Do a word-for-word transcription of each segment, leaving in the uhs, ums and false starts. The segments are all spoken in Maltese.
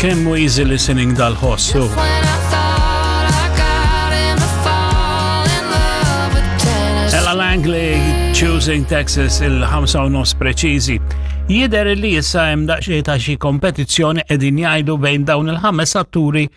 Kemm hu easy listening dal-ħossu. When I thought I got him to fall in love with Tennessee. Ella Langley, Choosing Texas, il-ħamsa u nofs preċiżi. Jidher li issa hemm daqsxejn ta' xi kompetizzjoni qegħdin jgħidu bejn dawn il-ħames atturi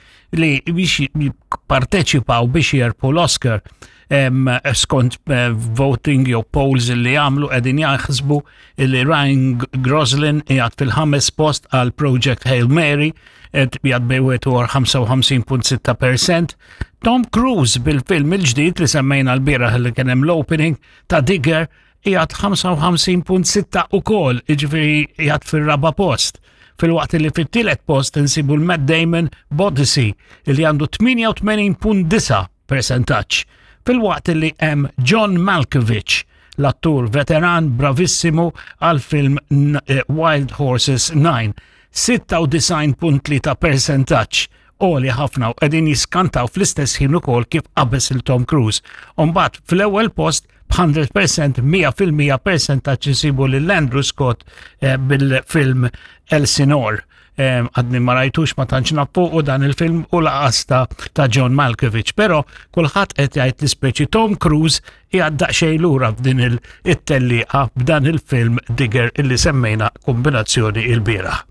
li biex jipparteċipaw biex jerbħu l-Oscar. Em, skont eh, voting jew polls li għamlu, qegħdin jaħsbu li Ryan Gosling qiegħed fil-ħames post għal Project Hail Mary, qed qiegħed bejwet ħamsa u ħamsin punt sitta percent. Tom Cruise bil-film il-ġdid li semmejna l-bieraħ li kien hemm l-opening ta' Digger qiegħed ħamsa u ħamsin punt sitta ukoll, jiġifieri qiegħed fir-raba' post. Filwaqt li fit-tielet post insibu l-Matt Damon b'Odyssey li għandu tmienja u tmenin punt disa' percentaġġ. Filwaqt li hemm John Malkovich, l-attur veteran bravissimu għal film eh, Wild Horses nine, sitta u disgħin punt tlieta percentaġġ, għoli ħafna, u qegħdin jiskantaw fl-istess ħin ukoll kif qabeż il Tom Cruise. Umbagħad fl-ewwel post b'mija fil-mija, mija fil-mija percentaġġ insibu lil Andrew Scott eh, bil-film Elsinore. Eh, Għadni ma rajtux, ma tantx naf fuqu dan il-film u lanqas ta' ta' John Malkovich, però kulħadd qed jgħid li speċi Tom Cruise qiegħed daqsxejn lura f'din il-tellieqa b'dan il-film Digger illi semmejna kombinazzjoni il-bieraħ.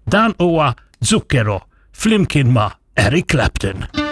Dan huwa Zucchero flimkien ma' Eric Clapton.